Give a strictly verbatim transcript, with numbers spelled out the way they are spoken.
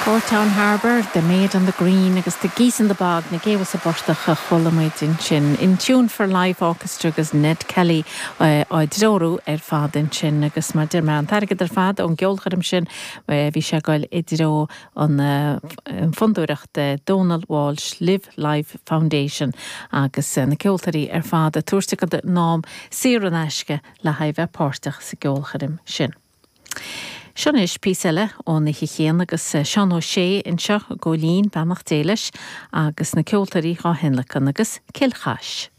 Courtown Harbour, The Maid on the Green agus The Geese in the Bog na géabha sa bportach a chuala muid ansin. In Tune for Live Orchestra agus Ned Kelly uh, á dtreorú ar fad ansin agus mar deir mé an t-airgead ar fad ón gceolchoirm sin uh, bhí sé ag goil i dtreo an uh, fondúireacht uh, Donal Walsh Live Life Foundation agus uh, na ceoltóirí ar fad ag tabhairt a gcuid am saor in aisce le haghaidh bheith páirteach sa gceolchoirm sin. Seo anois píosa eile ón oíche chéanna agus Seán Ó Sé anseo Góilín beannacht Dé leis agus na ceoltóirí á thionlacan agus Cill Chais.